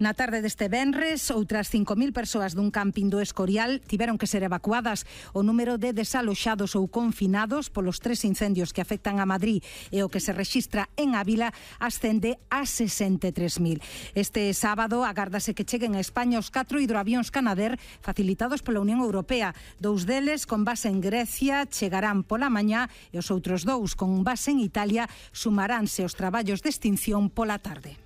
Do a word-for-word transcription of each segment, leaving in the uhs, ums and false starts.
Na tarde deste venres, outras cinco mil persoas dun camping do Escorial tiveron que ser evacuadas. O número de desaloxados ou confinados polos tres incendios que afectan a Madrid e o que se rexistra en Ávila ascende a sesenta e tres mil. Este sábado agárdase que cheguen a España os catro hidroavións Canadair facilitados pola Unión Europea. Dous deles con base en Grecia chegarán pola mañá e os outros dous con base en Italia sumaránse aos traballos de extinción pola tarde.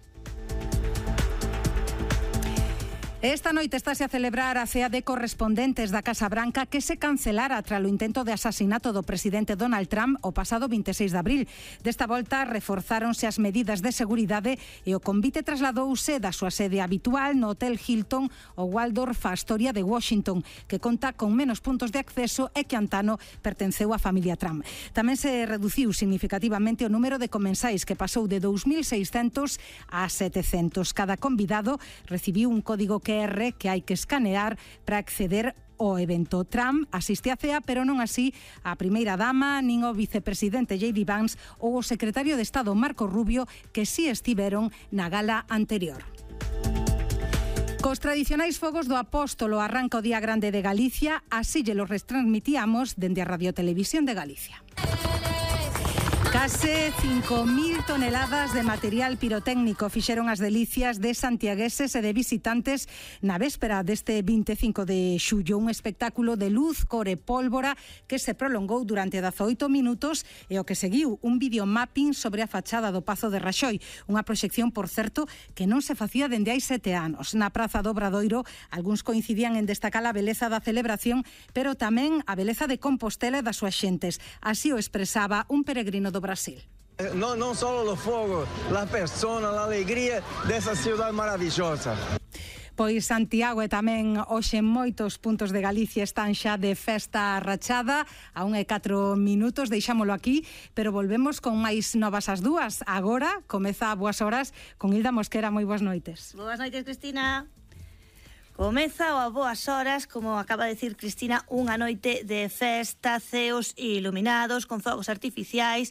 Esta noite estáse a celebrar a cea de correspondentes da Casa Branca que se cancelara tras o intento de asasinato do presidente Donald Trump o pasado vinte e seis de abril. Desta volta reforzáronse as medidas de seguridade e o convite trasladouse da súa sede habitual no Hotel Hilton o Waldorf Astoria de Washington, que conta con menos puntos de acceso e que antano pertenceu á familia Trump. Tamén se reduciu significativamente o número de comensais, que pasou de dous mil seiscentos a setecentos. Cada convidado recibiu un código que que hai que escanear para acceder ao evento. Trump asiste á cea, pero non así a primeira dama, nin o vicepresidente J D Vance ou o secretario de Estado Marco Rubio, que si estiveron na gala anterior. Cos tradicionais fogos do Apóstolo arranca o Día Grande de Galicia, así lle los retransmitíamos dende a Radio Televisión de Galicia. Case cinco mil toneladas de material pirotécnico fixeron as delicias de santiagueses e de visitantes na véspera deste vinte e cinco de xullo, un espectáculo de luz, cor e pólvora que se prolongou durante dezaoito minutos e o que seguiu un videomapping sobre a fachada do Pazo de Raxoi, unha proxección, por certo, que non se facía dende hai sete anos. Na Praza do Obradoiro, algúns coincidían en destacar a beleza da celebración, pero tamén a beleza de Compostela e das súas xentes. Así o expresaba un peregrino do Brasil. No, non só o fogo, a persona, a alegría dessa cidade maravilhosa. Pois Santiago e tamén hoxe moitos puntos de Galicia están xa de festa rachada. A un e catro minutos, deixámolo aquí, pero volvemos con máis novas as dúas. Agora comeza a Boas Horas con Hilda Mosquera. Moi boas noites. Boas noites, Cristina. Comeza o a Boas Horas, como acaba de decir Cristina, unha noite de festa, ceos iluminados, con fogos artificiais,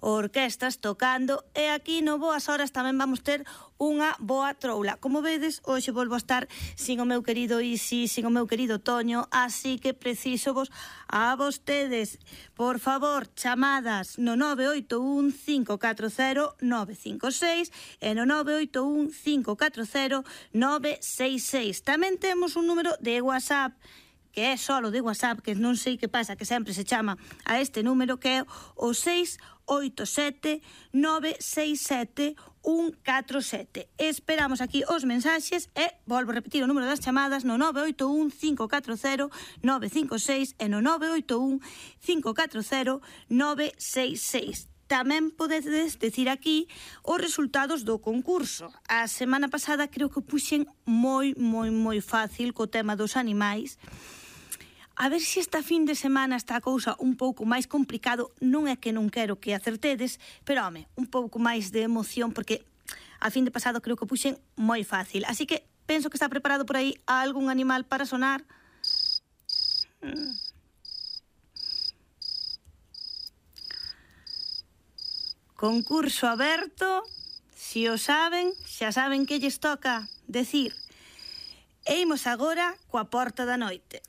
orquestas tocando, e aquí no Boas Horas tamén vamos ter unha boa troula. Como vedes, hoxe volvo a estar sin o meu querido Isi, sin o meu querido Toño, así que preciso vos a vostedes. Por favor, chamadas no nove oito un cinco catro cero nove cinco seis e no nove oito un cinco catro cero nove seis seis. Tamén temos un número de WhatsApp, que é solo de WhatsApp, que non sei que pasa, que sempre se chama a este número, que é o seis oito sete nove seis sete un catro sete. Esperamos aquí os mensaxes e volvo a repetir o número das chamadas no nove oito un cinco catro cero nove cinco seis e no nove oito un cinco catro cero nove seis seis. Tamén podedes decir aquí os resultados do concurso. A semana pasada creo que puxen moi, moi, moi fácil co tema dos animais. A ver se esta fin de semana está a cousa un pouco máis complicado. Non é que non quero que acertedes, pero, home, un pouco máis de emoción, porque a fin de pasado creo que puxen moi fácil. Así que penso que está preparado por aí algún animal para sonar. Concurso aberto. Si o saben, xa saben que lles toca decir. E imos agora coa porta da noite.